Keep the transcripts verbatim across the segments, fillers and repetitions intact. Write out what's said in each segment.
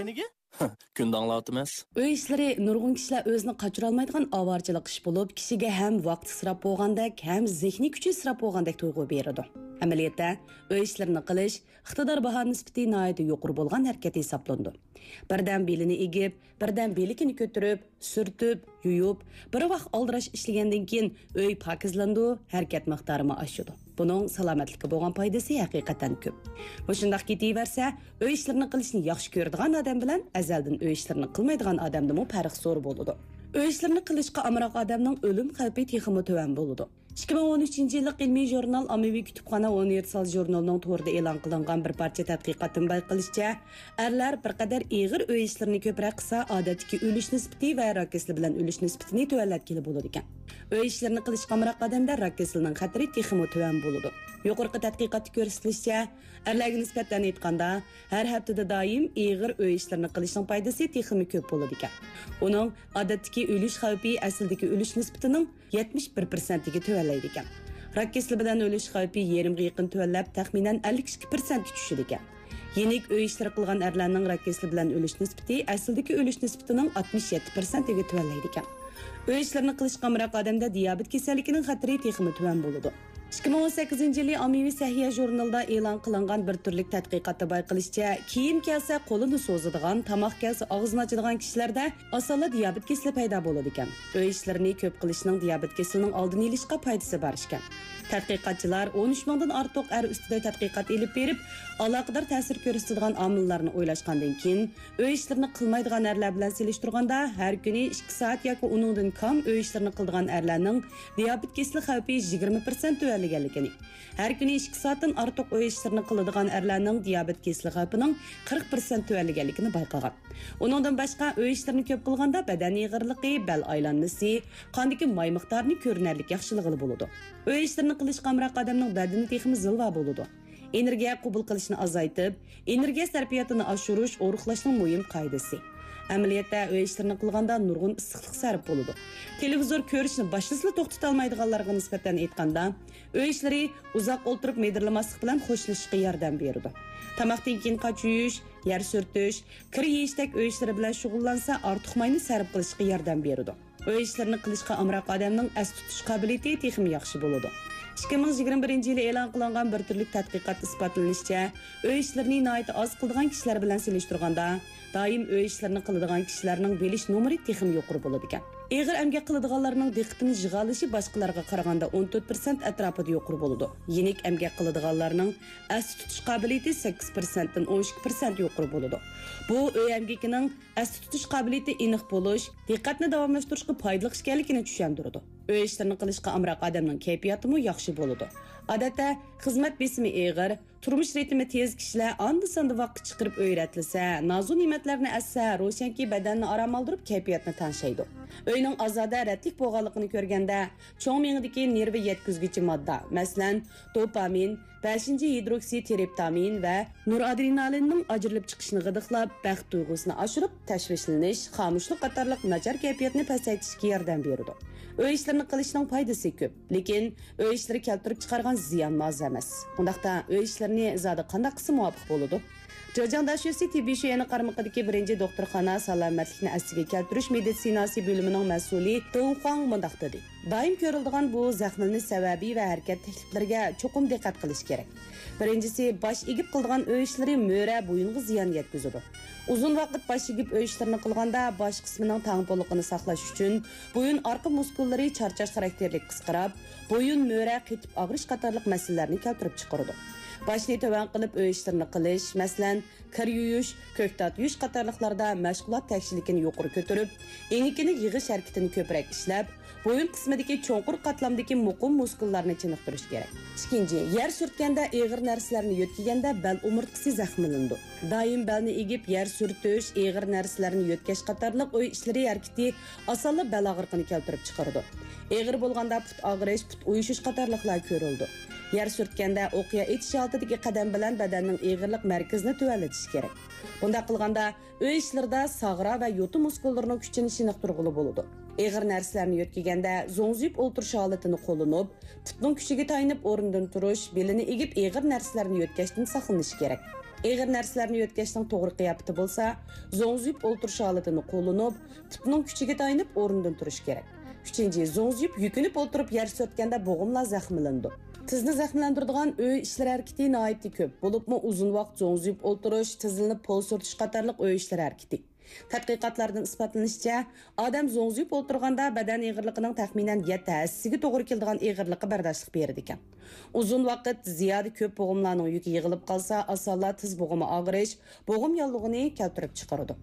نېگە؟ كۈندە ئاڭلاۋاتىمىز. ئۆي ئىشلىرى نۇرغۇن كىشىلەر ئۆزىنى قاچۇرالمايدىغان ئاۋارىچىلىق ئىش بولۇپ، كىشىگە ھەم ۋاقىت ئىسراپ بولغاندەك، ھەم زېھنىي كۈچى ئىسراپ بولغاندەك تۇيغۇ بېرىدۇ. ئەمەلىيەتتە، ئۆي ئىشلىرىنى قىلىش ئىقتىدار باھا نىسبىتى ناھايىتى يۇقىرى بولغان ھەرىكەت ھېسابلىنىدۇ. بىردەم بېلىنى ئېگىپ، بىردەم بىلىكىنى كۆتۈرۈپ، سۈرتۈپ، يۇيۇپ، بىر ۋاق ئالدىراش ئىشلىگەندىن كېيىن، ئۆي پاكىزلىنىدۇ، ھەرىكەت مىقدارىمۇ ئاشىدۇ. بۇنىڭ سالامەتلىككە بولغان پايدىسى ھەقىقەتەن كۆپ. مۇشۇنداق كېتىۋەرسە، ئۆي ئىشلىرىنى قىلىشنى ياخشى كۆرىدىغان ئادەم بىلەن ئەزەلدىن ئۆي ئىشلىرىنى قىلمايدىغان ئادەمدىمۇ پەرق زور بولىدۇ. ئۆي ئىشلىرىنى قىلىشقا ئامراق ئادەمنىڭ ئۆلۈم خەۋپى تېخىمۇ تۆۋەن بولىدۇ. ئىككى مىڭ ئون ئۈچىنچى يىللىق ئىلمىي ژۇرنال ئاممىۋى كۇتۇپخانا ئۇنىۋېرسال ژۇرنىلىنىڭ تورىدا ئېلان قىلىنغان بىر پارچە تەتقىقاتتىن بايقىلىشىچە، ئەرلەر بىر قەدەر ئېغىر ئۆي ئىشلىرىنى كۆپرەك قىلسا، ئادەتتىكى ئۆلۈش نىسبىتى ۋە راك كېسىلى بىلەن ئۆلۈش نىسبىتىنى تۆۋەنلەتكىلى بولىدىكەن. ئۆي ئىشلىرىنى قىلىشقا ئامراق ئادەمدە راك كېسىلىنىڭ خەتىرى تېخىمۇ تۆۋەن بولىدۇ. يۇقىرىقى تەتقىقاتتا كۆرسىتىلىشىچە، ئەرلەرگە نىسبەتەن ئېيتقاندا، ھەر ھەپتىدە دائىم ئېغىر ئۆي ئىشلىرىنى قىلىشنىڭ پايدىسى تېخىمۇ كۆپ بولىدىكەن. ئۇنىڭ ئادەتتىكى ئۆلۈش خەۋپى ئەسلىدىكى ئۆلۈش نىسبىتىنىڭ يەتمىش بىر پىرسەنتىگە تۆۋەنلەيدىكەن. راك كېسىلى بىلەن ئۆلۈش خەۋپى يېرىمغا يېقىن تۆۋەنلەپ، تەخمىنەن ئەللىك ئىككى پىرسەنتكە چۈشىدىكەن. يېنىك ئۆي ئىشلىرى قىلغان ئەرلەرنىڭ راك كېسىلى بىلەن ئۆلۈش نىسبىتى ئەسلىدىكى ئۆلۈش نىسبىتىنىڭ ئاتمىش يەتتە پىرسەنتىگە تۆۋەنلەيدىكەن. ئۆي ئىشلىرىنى قىلىشقا ئامراق ئادەمدە دىيابېت كېسەللىكىنىڭ خەتىرى تېخىمۇ تۆۋەن بولىدۇ. ئىككى مىڭ ئون سەككىزىنچى يىلى ئاممىۋى سەھىيە ژۇرنىلىدا ئېلان قىلىنغان بىر تۈرلۈك تەتقىقاتتا بايقىلىشىچە، كىيىم كىيسە قولىنى سوزىدىغان، تاماق كەلسە ئاغزىنى ئاچىدىغان كىشىلەردە ئاسانلا دىيابېت كېسىلى پەيدا بولىدىكەن. ئۆي ئىشلىرىنى كۆپ قىلىشنىڭ دىيابېت كېسىلىنىڭ ئالدىنى ئېلىشقا پايدىسى بار ئىكەن. تەتقىقاتچىلار ئون ئۈچ مىڭدىن ئارتۇق ئەر ئۈستىدە تەتقىقات ئېلىپ بېرىپ، ئالاقىدار تەسىر كۆرسىتىدىغان ئامىللارنى ئويلاشقاندىن كېيىن، ئۆي ئىشلىرىنى قىلمايدىغان ئەرلەر بىلەن سېلىشتۇرغاندا، ھەر كۈنى ئىككى سائەت ياكى ئۇنىڭدىن كام ئۆي ئىشلىرىنى قىلىدىغان ئەرلەرنىڭ دىيابېت كېسىلى خەۋپى يىگىرمە پىرسەنت تۆۋەنلىگەنلىكىنى، ھەر كۈنى ئىككى سائەتتىن ئارتۇق ئۆي ئىشلىرىنى قىلىدىغان ئەرلەرنىڭ دىيابېت كېسىلى خەۋپىنىڭ قىرىق پىرسەنت تۆۋەنلىگەنلىكىنى بايقىغان. ئۇنىڭدىن باشقا، ئۆي ئىشلىرىنى كۆپ قىلغاندا بەدەن ئېغىرلىقى، بەل ئايلانمىسى، قاندىكى ماي مىقدارىنى كۆرۈنەرلىك ياخشىلىغىلى بولىدۇ. ئۆي ئىشلىرىنى قىلىشقا ئامراق ئادەمنىڭ بەدىنى تېخىمۇ زىلۋا بولىدۇ. ئېنېرگىيە قوبۇل قىلىشنى ئازايتىپ، ئېنېرگىيە سەرپىياتىنى ئاشۇرۇش ئورۇقلاشنىڭ مۇھىم قائىدىسى. ئەمەلىيەتتە، ئۆي ئىشلىرىنى قىلغاندا نۇرغۇن ئىسسىقلىق سەرپ بولىدۇ. تېلېۋىزور كۆرۈشنى باشلىسىلا توختىتالمايدىغانلارغا نىسبەتەن ئېيتقاندا، ئۆي ئىشلىرى ئۇزاق ئولتۇرۇپ مىدىرلىماسلىق بىلەن خوشلىشىشقا ياردەم بېرىدۇ. تاماقتىن كېيىن قاچا يۇيۇش، يەر سۈرتۈش، كىر يېيىشتەك ئۆي ئىشلىرى بىلەن شۇغۇللانسا، ئارتۇق ماينى سەرپ قىلىشقا ياردەم بېرىدۇ. ئۆي ئىشلىرىنى قىلىشقا ئامراق ئادەمنىڭ ئەستە تۇتۇش قابىلىيىتى تېخىمۇ ياخشى بولىدۇ. ئىككى مىڭ يىگىرمە بىرىنچى يىلى ئېلان قىلىنغان بىر تۈرلۈك تەتقىقاتتا ئىسپاتلىنىشىچە، ئۆي ئىشلىرىنى ناھايىتى ئاز قىلىدىغان كىشىلەر بىلەن سېلىشتۇرغاندا، دائىم ئۆي ئىشلىرىنى قىلىدىغان كىشىلەرنىڭ بىلىش نومۇرى تېخىمۇ يۇقىرى بولىدىكەن. ئېغىر ئەمگەك قىلىدىغانلارنىڭ دىققىتىنى يىغالىشى باشقىلارغا قارىغاندا ئون تۆت پىرسەنت ئەتراپىدا يۇقىرى بولىدۇ. يېنىك ئەمگەك قىلىدىغانلارنىڭ ئەستە تۇتۇش قابىلىيىتى سەككىز پىرسەنتتىن ئون ئىككى پىرسەنت يۇقىرى بولىدۇ. بۇ ئۆي ئەمگىكىنىڭ ئەستە تۇتۇش قابىلىيىتى ئېنىق بولۇش، دىققەتنى داۋاملاشتۇرۇشقا پايدىلىق ئىكەنلىكىنى چۈشەندۈرىدۇ. ئۆي ئىشلىرىنى قىلىشقا ئامراق ئادەمنىڭ كەيپىياتىمۇ ياخشى بولىدۇ. ئادەتتە، خىزمەت بېسىمى ئېغىر، تۇرمۇش رىتىمى تېز كىشىلەر ئاندا-ساندا ۋاقىت چىقىرىپ ئۆي رەتلىسە، نازۇ نېمەتلەرنى ئەتسە، روشەنكى، بەدەننى ئارام ئالدۇرۇپ، كەيپىياتنى تەڭشەيدۇ. ئۆينىڭ ئازادە، رەتلىك بولغانلىقىنى كۆرگەندە، چوڭ مېڭىدىكى نېرۋا يەتكۈزگۈچى ماددا، مەسىلەن، دوپامىن، بەشىنچى ھىدروكسىتېرىپتامىن ۋە نورئادرېنالىننىڭ ئاجرىلىپ چىقىشىنى غىدىقلاپ، بەخت تۇيغۇسىنى ئاشۇرۇپ، تەشۋىشلىنىش، خامۇشلۇق قاتارلىق ناچار كەيپىياتنى پەسەيتىشكە ياردەم بېرىدۇ. ئۆي ئىشلىرىنى قىلىشنىڭ پايدىسى كۆپ، لېكىن ئۆي ئىشلىرى كەلتۈرۈپ چىقارغان زىيانمۇ ئاز ئەمەس. ئۇنداقتا، ئۆي ئىشلىرىنى زادى قانداق قىلسا مۇۋاپىق بولىدۇ؟ جېجياڭ داشۆسى تېببىي شۆيەنى قارمىقىدىكى بىرىنچى دوختۇرخانا سالامەتلىكنى ئەسلىگە كەلتۈرۈش مېدىتسىناسى بۆلۈمىنىڭ مەسئۇلى دېڭ خۇاڭ مۇنداق دېدى: دائىم كۆرۈلىدىغان بۇ زەخمىلىنىش سەۋەبى ۋە ھەرىكەت تەكلىپلىرىگە چوقۇم دىققەت قىلىش كېرەك. بىرىنچىسى، باش ئېگىپ قىلىدىغان ئۆي ئىشلىرى مۈرە، بويۇنغا زىيان يەتكۈزىدۇ. ئۇزۇن ۋاقىت باش ئېگىپ ئۆي ئىشلىرىنى قىلغاندا، باش قىسمىنىڭ تەڭپۇڭلۇقىنى ساقلاش ئۈچۈن، بويۇن ئارقا مۇسكۇللىرى چارچاش خاراكتېرلىك قىسقىراپ، بويۇن، مۈرە قېتىپ ئاغرىش قاتارلىق مەسىلىلەرنى كەلتۈرۈپ چىقىرىدۇ. باشنى تۆۋەن قىلىپ ئۆي ئىشلىرىنى قىلىش، مەسىلەن، كىر يۇيۇش، كۆكتات يۇيۇش قاتارلىقلاردا مەشغۇلات تەكشىلىكىنى يۇقىرى كۆتۈرۈپ، ئېڭىكىنى يىغىش ھەرىكىتىنى كۆپرەك ئىشلەپ، بويۇن قىسمىدىكى چوڭقۇر قاتلامدىكى مۇقىم مۇسكۇللارنى چېنىقتۇرۇش كېرەك. ئىككىنچى، يەر سۈرتكەندە، ئېغىر نەرسىلەرنى يۆتكىگەندە بەل ئومۇرتقىسى زەخىملىنىدۇ. دائىم بەلنى ئېگىپ يەر سۈرتۈش، ئېغىر نەرسىلەرنى يۆتكەش قاتارلىق ئۆي ئىشلىرى ھەرىكىتى ئاسانلا بەل ئاغرىقىنى كەلتۈرۈپ چىقىرىدۇ. ئېغىر بولغاندا پۇت ئاغرىش، پۇت ئۇيۇشۇش قاتارلىقلار كۆرۈلىدۇ. يەر سۈرتكەندە ئوقيا ئېتىش ھالىتىدىكى قەدەم بىلەن بەدەننىڭ ئېغىرلىق مەركىزىنى تۆۋەنلىتىش كېرەك. بۇنداق قىلغاندا ئۆي ئىشلىرىدا ساغرا ۋە يوتا مۇسكۇللىرىنىڭ كۈچىنى چېنىقتۇرغىلى بولىدۇ. ئېغىر نەرسىلەرنى يۆتكىگەندە زوڭزىيىپ ئولتۇرۇش ھالىتىنى قوللىنىپ، پۇتنىڭ كۈچىگە تايىنىپ ئورنىدىن تۇرۇش، بېلىنى ئېگىپ ئېغىر نەرسىلەرنى يۆتكەشتىن ساقلىنىش كېرەك. ئېغىر نەرسىلەرنى يۆتكەشنىڭ توغرا قىياپىتى بولسا، زوڭزىيىپ ئولتۇرۇش ھالىتىنى قوللىنىپ، پۇتنىڭ كۈچىگە تايىنىپ ئورنىدىن تۇرۇش كېرەك. ئۈچىنچى، زوڭزىيىپ يۈكۈنۈپ ئولتۇرۇپ يەر سۈرتكەندە بوغۇملار زەخىملىنىدۇ. تىزنى زەخىملەندۈرىدىغان ئۆي ئىشلىرى ھەرىكىتى ناھايىتى كۆپ، بولۇپمۇ ئۇزۇن ۋاقىت زوڭزىيىپ ئولتۇرۇش، تىزلىنىپ پول سۈرتۈش قاتارلىق ئۆي ئىشلىرى ھەرىكىتى. تەتقىقاتلاردىن ئىسپاتلىنىشىچە، ئادەم زوڭزىيىپ ئولتۇرغاندا بەدەن ئېغىرلىقىنىڭ تەخمىنەن يەتتە ھەسسىگە توغرا كېلىدىغان ئېغىرلىققا بەرداشلىق بېرىدىكەن. ئۇزۇن ۋاقىت زىيادە كۆپ بوغۇملارنىڭ يۈكى يىغىلىپ قالسا، ئاسانلا تىز بوغۇمى ئاغرىش، بوغۇم ياللۇغىنى كەلتۈرۈپ چىقىرىدۇ.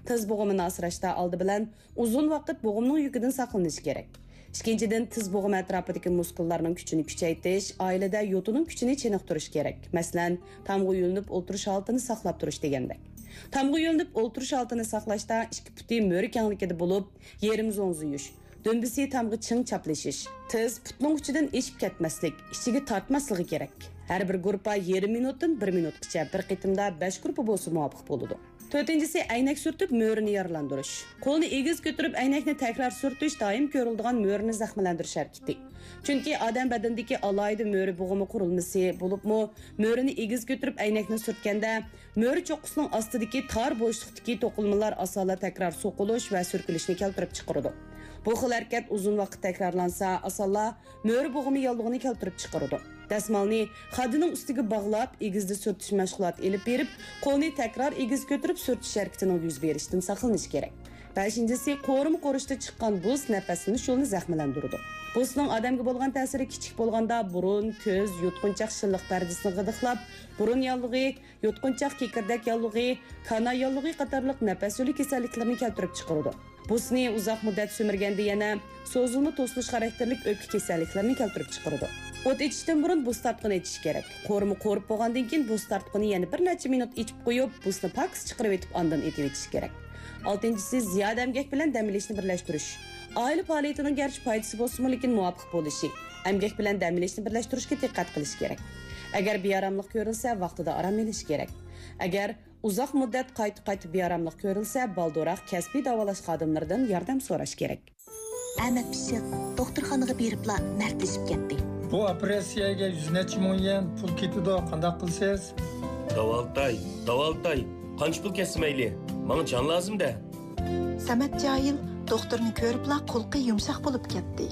تىز بوغۇمىنى ئاسراشتا ئالدى بىلەن ئۇزۇن ۋاقىت بوغۇمنىڭ يۈكىدىن ساقلىنىش كېرەك. ئىككىنچىدىن، تىز بوغۇم ئەتراپىدىكى مۇسكۇللارنىڭ كۈچىنى كۈچەيتىش، ئائىلىدە يوتىنىڭ كۈچىنى چېنىقتۇرۇش كېرەك. مەسىلەن، تامغا يۆلىنىپ ئولتۇرۇش ھالىتىنى ساقلاپ تۇرۇش دېگەندەك. تامغا يۆلىنىپ ئولتۇرۇش ھالىتىنى ساقلاشتا ئىككى پۇتى مۈرە كەڭلىكىدە بولۇپ، يېرىم زوڭزىيىش، دۈمبىسى تامغا چىڭ چاپلىشىش، تىز پۇتنىڭ ئۇچىدىن ئېشىپ كەتمەسلىك، ئىچىگە تارتماسلىقى كېرەك. ھەر بىر گۇرۇپپا يېرىم مىنۇتتىن بىر مىنۇتقىچە بىر قېتىمدا بەش گۇرۇپپا بولسا مۇۋاپىق بولىدۇ. تۆتىنچىسى، ئەينەك سۈرتۈپ مۆرىنى يارىلاندۇرۇش. قولنى ئېگىز كۆتۈرۈپ ئەينەكنى تەكرار سۈرتۈش دائىم كۆرۈلىدىغان مۆرىنى زەخىملەندۈرۈش ھەرىكىتى. چۈنكى ئادەم بەدىنىدىكى ئالاھىدە مۆرە بوغۇمى قۇرۇلمىسى، بولۇپمۇ مۆرىنى ئېگىز كۆتۈرۈپ ئەينەكنى سۈرتكەندە، مۆرە چوققىسىنىڭ ئاستىدىكى تار بوشلۇقتىكى توقۇلمىلار ئاسانلا تەكرار سوقۇلۇش ۋە سۈركىلىشنى كەلتۈرۈپ چىقىرىدۇ. بۇ خىل ھەرىكەت ئۇزۇن ۋاقىت تەكرارلانسا، ئاسانلا مۆرە بوغۇمى ياللۇغىنى كەلتۈرۈپ چىقىرىدۇ. دەسمالنى خادىنىڭ ئۈستىگە باغلاپ، ئېگىزدە سۈرتۈش مەشغۇلاتى ئېلىپ بېرىپ، قولنى تەكرار ئېگىز كۆتۈرۈپ سۈرتۈش ھەرىكىتىنىڭ يۈز بېرىشىدىن ساقلىنىش كېرەك. بەشىنچىسى، قورۇما قورۇشتا چىققان بۇس نەپەسلىنىش يولىنى زەخىملەندۈرىدۇ. بۇسنىڭ ئادەمگە بولغان تەسىرى كىچىك بولغاندا بۇرۇن، كۆز، يۇتقۇنچاق شىللىق پەردىسىنى غىدىقلاپ، بۇرۇن ياللۇغى، يۇتقۇنچاق كېكىردەك ياللۇغى، كانا ياللۇغى قاتارلىق نەپەس يولى كېسەللىكلىرىنى كەلتۈرۈپ چىقىرىدۇ. بۇسنى ئۇزاق مۇددەت سۈمۈرگەندە يەنە سوزۇلما توسۇلۇش خاراكتېرلىك ئۆپكە كېسەللىكلىرىنى كەلتۈرۈپ چىقىرىدۇ. ئوت ئېچىشتىن بۇرۇن بۇس تارتقۇنى ئېچىش كېرەك. قورۇما قورۇپ بولغاندىن كېيىن بۇس تارتقۇنى يەنە بىر نەچچە مىنۇت ئېچىپ قويۇپ، بۇسنى پاكىز چىقىرىۋېتىپ ئاندىن ئېتىۋېتىش كېرەك. ئالتىنچىسى، زىيادە ئەمگەك بىلەن دەم ئېلىشنى بىرلەشتۈرۈش. ئائىلە پائالىيىتىنىڭ گەرچە پايدىسى بولسىمۇ، لېكىن مۇۋاپىق بولۇشى، ئەمگەك بىلەن دەم ئېلىشنى بىرلەشتۈرۈشكە دىققەت قىلىش كېرەك. ئەگەر بىئاراملىق كۆرۈلسە، ۋاقتىدا ئارام ئېلىش كېرەك. ئەگەر ئۇزاق مۇددەت قايتا-قايتا بىئاراملىق كۆرۈلسە، بالدۇرراق كەسپىي داۋالاش خادىملىرىدىن ياردەم سوراش كېرەك. ئەمەت پىششىق دوختۇرخانىغا بېرىپلا مەردلىشىپ كەتتى. بۇ ئوپېراتسىيەگە يۈز نەچچە مىڭ يۈەن پۇل كېتىدۇ، قانداق قىلىسىز؟ داۋالىتاي، داۋالىتاي، قانچە پۇل كەتسە مەيلى، ماڭا جان لازىم-دە. سەمەت جاھىل دوختۇرنى كۆرۈپلا قۇلىقى يۇمشاق بولۇپ كەتتى.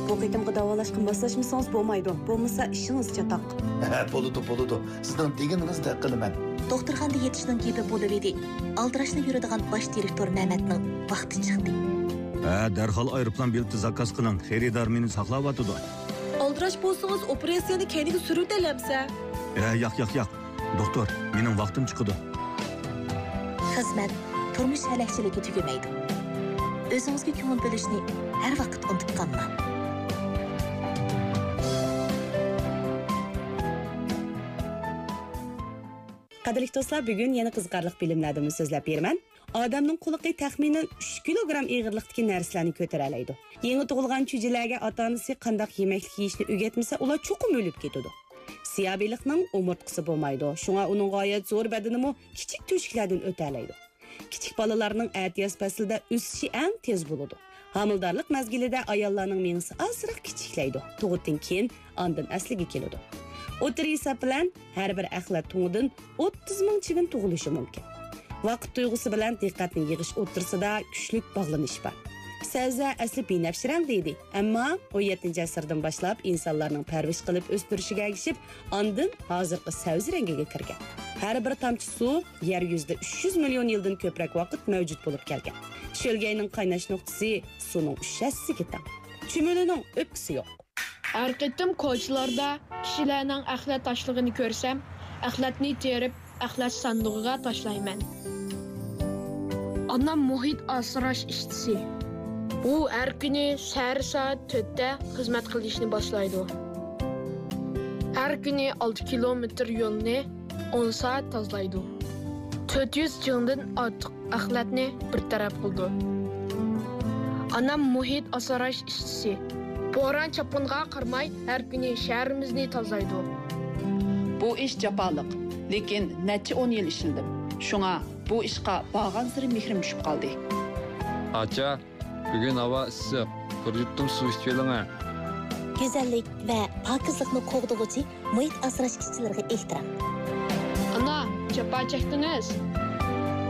بۇ قېتىمقى داۋالاشقا ماسلاشمىسىڭىز بولمايدۇ، بولمىسا ئىشىڭىز چاتاق. ھە، بولىدۇ، بولىدۇ. سىزنىڭ دېگىنىڭىزدەك قىلىمەن. دوختۇرخانىدا يېتىشنىڭ گېپى بولۇۋىدى. ئالدىراشلا يۈرىدىغان باش دىرېكتور نەمەتنىڭ ۋاقتى چىقتى. ھە، دەرھال ئايروپىلان بېلىتى زاكاز قىلىڭ، خېرىدار مېنى ساقلاۋاتىدۇ. ئالدىراش بولسىڭىز، ئوپېراتسىيەنى كەينىگە سۈرۈۋېتەلەمسە؟ ھە، ياق، ياق، ياق. دوختۇر، مېنىڭ ۋاقتىم چىقىدۇ. خىزمەت، تۇرمۇش ھەلەكچىلىكى تۈگىمەيدۇ. ئۆزىڭىزگە كۆڭۈل بۆلۈشنى ھەر ۋاقىت ئۇنتۇپ قالماڭ. قەدىرلىك دوستلار، بۈگۈن يەنە قىزىقارلىق بىلىملەردىنمۇ سۆزلەپ بېرىمەن. ئادەمنىڭ قۇلىقى تەخمىنەن ئۈچ كىلوگرام ئېغىرلىقتىكى نەرسىلەرنى كۆتۈرەلەيدۇ. يېڭى تۇغۇلغان چۈجىلەرگە ئاتا-ئانىسى قانداق يېمەكلىك يېيىشنى ئۆگەتمىسە، ئۇلار چوقۇم ئۆلۈپ كېتىدۇ. سىياھ بېلىقنىڭ ئومۇرتقىسى بولمايدۇ، شۇڭا ئۇنىڭ غايەت زور بەدىنىمۇ كىچىك تۆشۈكلەردىن ئۆتەلەيدۇ. كىچىك بالىلارنىڭ ئەتىياز پەسلىدە ئۆسۈشى ئەڭ تېز بولىدۇ. ھامىلىدارلىق مەزگىلىدە ئاياللارنىڭ مېڭىسى ئازراق كىچىكلەيدۇ. تۇغۇتتىن كېيىن ئاندىن ئەسلىگە كېلىدۇ. ئوتتۇرا ھېساب بىلەن ھەر بىر ئەخلەت تۇڭىدىن ئوتتۇز مىڭ چىۋىن تۇغۇلۇشى مۇمكىن. ۋاقىت تۇيغۇسى بىلەن دىققەتنى يىغىش ئوتتۇرىسىدا كۈچلۈك باغلىنىش بار. سەۋزە ئەسلى بىنەپشە رەڭدە ئىدى، ئەمما ئون يەتتىنچى ئەسىردىن باشلاپ ئىنسانلارنىڭ پەرۋىش قىلىپ ئۆستۈرۈشىگە ئەگىشىپ، ئاندىن ھازىرقى سەۋزە رەڭگىگە كىرگەن. ھەر بىر تامچە سۇ يەر يۈزىدە ئۈچ يۈز مىليون يىلدىن كۆپرەك ۋاقىت مەۋجۇت بولۇپ كەلگەن. شۆلگەينىڭ قايناش نۇقتىسى سۇنىڭ ئۈچ ھەسسىسىگە تەڭ. چۈمۈلىنىڭ ئۆپكىسى يوق. ھەر قېتىم كوچىلاردا كىشىلەرنىڭ ئەخلەت تاشلىغىنى كۆرسەم، ئەخلەتنى تېرىپ، ئەخلەت ساندۇقىغا تاشلايمەن. ئانام مۇھىت ئاسراش ئىشچىسى. ئۇ ھەر كۈنى سەھەر سائەت تۆتتە خىزمەت قىلىشنى باشلايدۇ. ھەر كۈنى ئالتە كىلومېتىر يولنى ئون سائەت تازىلايدۇ. تۆت يۈز چىڭدىن ئارتۇق ئەخلەتنى بىر تەرەپ قىلىدۇ. ئانام مۇھىت ئاسراش ئىشچىسى. بوران-چاپقۇنغا قارىماي، ھەر كۈنى شەھىرىمىزنى تازىلايدۇ. بۇ ئىش جاپالىق، لېكىن نەچچە ئون يىل ئىشلىدىم. شۇڭا بۇ ئىشقا بارغانسېرى مېھرىم چۈشۈپ قالدى. ئاچا، بۈگۈن ھاۋا ئىسسىق، بىر يۇتۇم سۇ ئىچىۋېلىڭە. گۈزەللىك ۋە پاكىزلىقنى قوغدىغۇچى مۇھىت ئاسراش ئىشچىلىرىغا ئېھتىرام. ئانا، جاپا چەكتىڭىز.